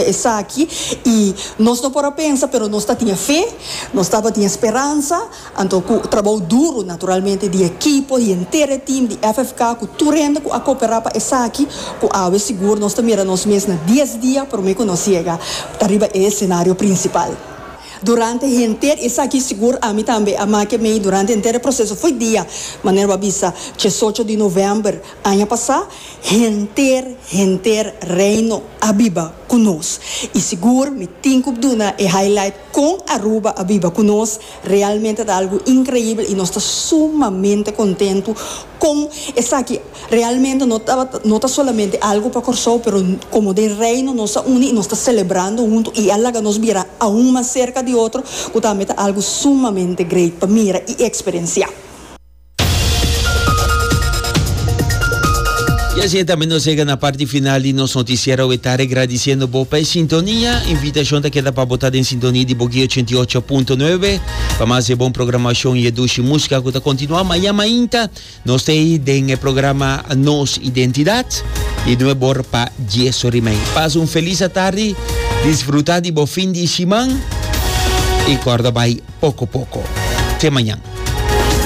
Esaki y nos no por a pensa pero nos ta tin e fe, nos tabatin e speransa, anto cu trabou duro naturalmente di ekipo, di henter e team di FFK cu tur hende cu a coopera pa esaki cu awe sigur nos ta mira nos mes na dies dia prome cu nos yega ta riba e escenario principal. Durante henter esaki sigur ami tambe a make mei durante henter e proceso fo'i dia manera bo a bisa diesocho di november aña pasa, Henter, henter Reino a biba cu nos. Y sigur mi tin cu duna e highlight con Aruba a biba cu nos, realmente ta algo increibel y nos ta sumamente contento con esaki. Realmente no tabata, no ta solamente algo pa Corsou, pero como den Reino nos a uni y nos ta celebrando hunto y a laga nos bira aun mas cerca di otro, cu tambe ta algo sumamente great pa mira y experiencia. Y así también nos llega na parte final di nos noticiero wetare gradiciendo bo pa e sintonia. Invitacion ta keda pa bo ta den sintonia di Boguí 88.9 pa mas e bon programacion y e dushi musica cu ta continua. Mañana mainta nos ta ahí den e programa Nos Identidad di 9 or pa 10 or y mei. Pasa un feliz atardi, disfruta di bo fin di siman y corda bay poco poco. Te mañana.